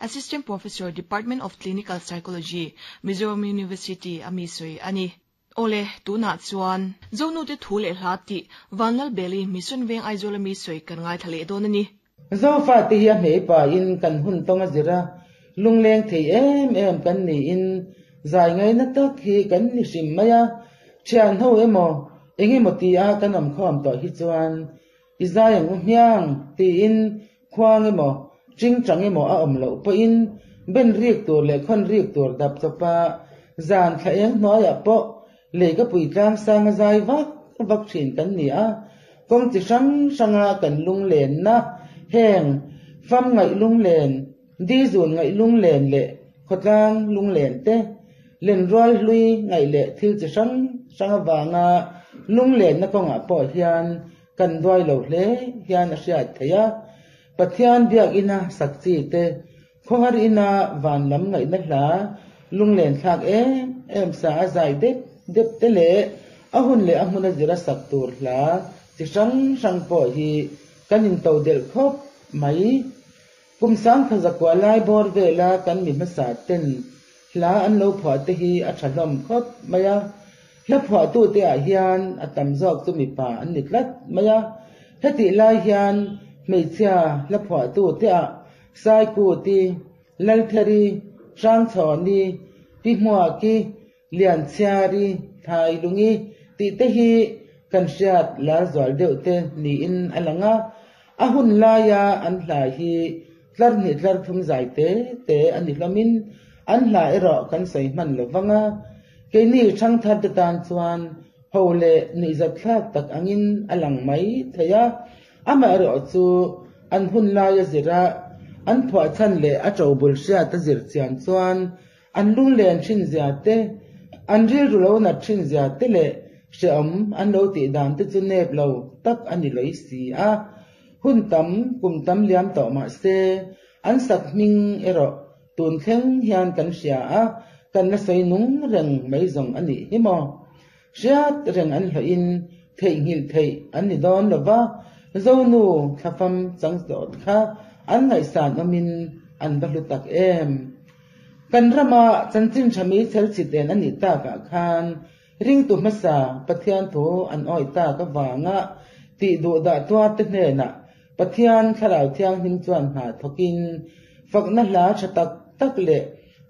Assistant Professor, Department of Clinical Psychology, Mizoram University a mi sawi a ni. Awle, tunah chuan Zonute thu leh hla tih Vanlalbeli Mission Veng Aizawl a mi sawi kan ngaithla leh dawn a ni. Zofate hi a hmei pahin kan hun tawng a zir a, lungleng thei em em kan niin zai ngaina tak hi kan ni hrim mai a, thian ho emaw eng emaw ti a kan awm khawm tawh hi chuan i zai ang u hmiang tiin khuang emaw chingchang emaw a awm loh pawhin ben rik tur leh khawn rik tur dap chawpa zan thla eng hnuaiah pawh Lei ka pui tlang sang a zai vak vak thin kan ni a, kawng chi hrang hranga kan lunglenna heng fam ngaih lunglen, dizun ngaih lunglen leh khawtlang lunglen te, lenrual hlui ngaih leh thil chi hrang hrang avanga lunglenna kawngah pawh hian kan duai lo hle hian a hriat theih a. Pathian biakina sak chi te Khawhar ina van lam ngaihna hla lunglen thlak em em sa a zai dep dep te leh a hun leh a hmuna zira sak tur hla chi hrang hrang pawh hi kan into delh khawp mai. Kum sangkha zakua lai bawr vela kan mi hmasa ten hla an lo phuah te hi a tha hlawm khawp mai a. Hla phuahtute ah hian a tam zawk chu mipa an ni tlat mai a. Hetih lai hian hmeichhia hla phuahtute ah Saikuti, Laltheri, Hrangchhawni, Pi Hmuaki, Lianchhiari, Thailungi tih te hi kan hriat lar zual deuh te niin a lang a. A hun laia an hla hi tlar hnih tlar thum zai te te a ni hlawmin an hla erawh kan sawi hman lo vang a. Keini thangthar te tan chuan ho leh nuihzatthlak tak angin a lang mai thei a. Amaherawh chu an hun laia zira an phuahchhan leh a ṭobul hriat a zir chian chuan an lunglen ṭhin zia te, an rilru lo nat ṭhin zia te leh hrehawm an lo tih dan te chu nep lo tak a ni lawih si a. Hun tam, kum tam liam tawh mah se, an sak hming erawh tun thleng hian kan hria a, kan la sawi nung reng mai zawng a nih hi maw? Hriat reng an hlawhin theihnghilh theih an ni dawn lo va, Zonu thlafam chang zawt kha an ngaihsan awmin an va hlu tak em. Kan rama chanchin tha mi chhelchhit en a nih takah khan ringtu hmasa Pathian thu an awih tak avanga tih duh dah tuarte hnenah Pathian Thlarau Thianghlim chuan hna thawkin fakna hla tha tak tak leh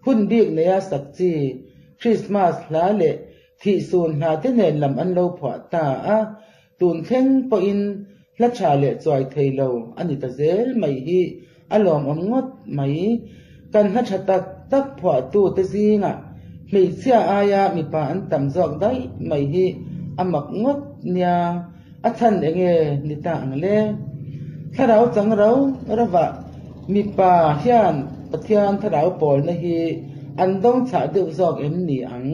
hun bik neia sak chi Krismas hla leh thihsun hla te nen lam an lo phuah ta a, tun thleng pawhin hla tha leh chuai thei lo a ni ta zel mai hi a lawmawm ngawt mai. Kan hla tha tak tak phuahtu te zingah hmeichhia aia mipa an tam zawk daih mai hi a mak ngawt nia, a chhan enge ni ta ang le? Thlarau chang rau ravah mipa hian Pathian thlarau pawlna hi an dawng chhah deuh zawk em ni ang?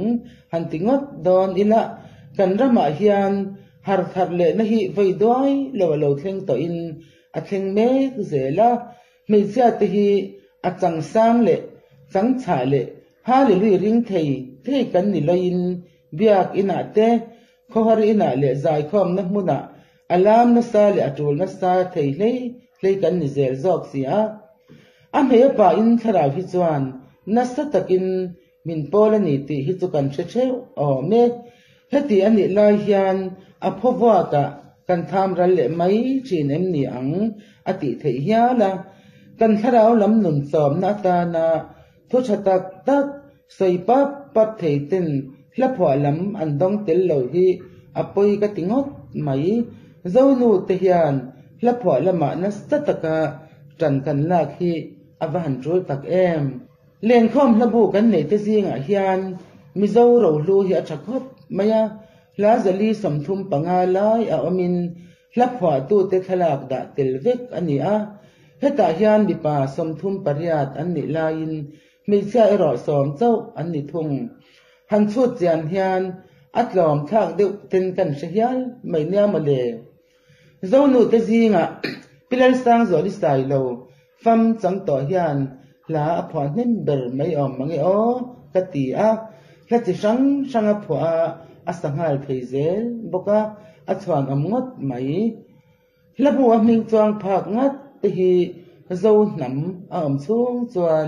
Han ti ngawt dawn ila, kan ramah hian har thar lehna hi vawi duai lo a lo thleng tawhin a thleng mek zel a, hmeichhia te hi a chang sang leh chang chhah leh Hallelui ring thei thei kan ni loin biak inah te, khawhar inah leh zaikhawmna hmunah a lam nasa leh a tul nasa thei hlei hlei kan ni zel zawk si a. A hmei pain thlarau hi chuan nasa takin min pawl a ni tih hi chu kan hre theuh awm e. Heti a nih lai hian a phawvuakah kan tham ral leh mai thin em ni ang a tih theih hial a. Kan thlarau lam nun chawmna atana Thu tha tak tak sawi pap pap thei ten hla phuah lam an dawng tel lo hi a pawi ka ti ngawt mai. Zonu te hian hla phuah lamah nasa taka tan kan lak hi a va han tul tak em. Lenkhawm hlabu kan neih te zingah hian Mizo rohlu hi a tha khawp mai a, hla zali 35 lai a awmin Hla phuahtute thlalak dah tel vek a ni a, hetah hian mipa 38 an nih laiin hmeichhia erawh 10 chauh an ni thung. Han chhut chian hian a tlawm thlak deuh ten kan hre hial mai nia mawle. Zonute zingah Pi Lalsangzuali Sailo fam chang tawh hian hla a phuah hnem ber mai awm mange aw ka ti a, hla chi hrang hrang a phuah a, a sa nghal thei zel bawk a, a chhuan awm ngawt mai. Hla bu a hming chuang phak ngat te hi Zo hnam a awm chhung chuan.